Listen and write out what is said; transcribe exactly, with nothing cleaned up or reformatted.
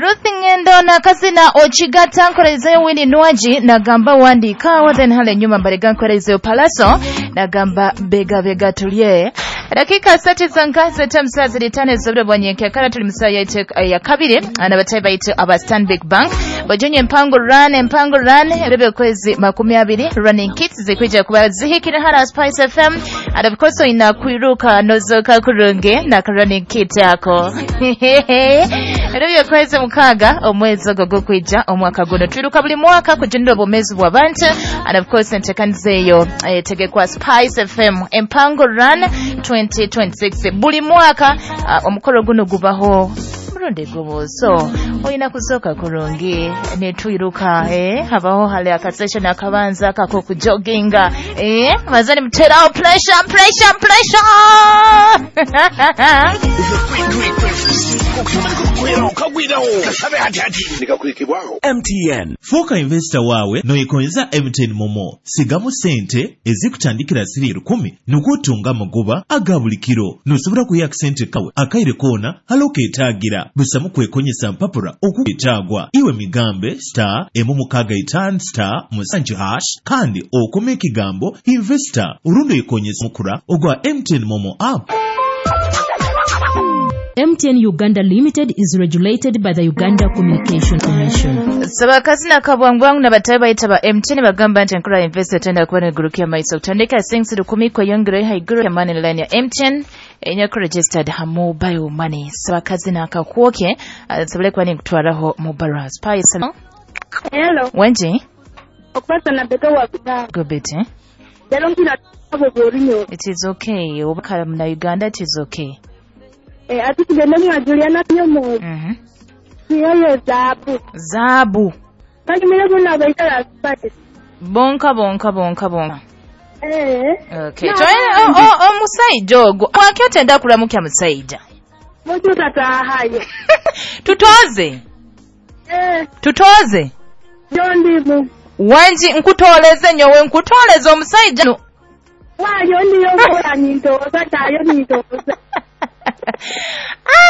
Ruth Ngendo na Kasina Ochigata nkorezeyo Winnie Nwaji nagamba wandikawo, then hale nyuma mbarega nkorezeyo Palaso nagamba bega bega tulye. Dakika sati za nkazi tamu ziri tano zobure bwanyenke kala tuli musaa ya ya kabiri anabatayi baitu aba Stanbic Bank bajonye mpango run empango run rebe kwezi makumi abiri running kits zikwija kuba zihikira hara Spice F M and of course ina kuiruka nozoka kurunge na running kit yako. Rebe kwezi mukaga omwezi ogo kwija omwaka guno twiruka buli mwaka kujindira obumezi bw'abantu and of course entekanzeyo etegekwa Spice F M empango run twenty twenty-six buli mwaka uh, omukolo guno gubaho murundi gumu, so oyina kusoka kurungi netwiruka eh habaho hale akasession akabanza kako kujoginga eh mazani mterao pressure pressure pressure. M T N Fuuka investor wawe noyikonza M T N Momo sigamu sente ezikutandikira siri lukumi nukutunga magoba aga buli kiro nosobola kuya sente kawe akaire kona haloketaagira busamu kwekonyesa mpapura okuetagwa iwe migambe star emu mukaga itano star musanju hash kandi okome ekigambo investor urundo ikonyesa mukura ogwa M T N Momo app. M T N Uganda Limited is regulated by the Uganda Communication Commission. Sabakazina kabwangwangu na batayi bayita ba M T N bagamba nti enkola investor tenda kuba negurukia maiso kutandika sinks lukumi kweyongerayo haiguru ya money line ya M T N enyako registered ha mobile money. Sabakazina akakwoke sabule kuba nikutwaraho mobile Spice. Hello. Wenji? Okupasa na beto wa kuta. Gobete. It is okay. Obakala mna Uganda it is okay. Eh, ati tugende mwa Juliana Nyomo. Mhm. Siyo zabu. Zabu. Kandi mire kuna baita Spice. Bonka bonka bonka bonka. Eh. Okay. Toye o o musaija ogwo. Wakyo kulamukya musaija. Muju tatahayo. Tutoze. Eh. Tutoze. Jondimu. Wanji nkutoleze nyowe nkutoleze omusaija. No. Wayo ndiyo kola nyintoza tayo nyintoza. Ai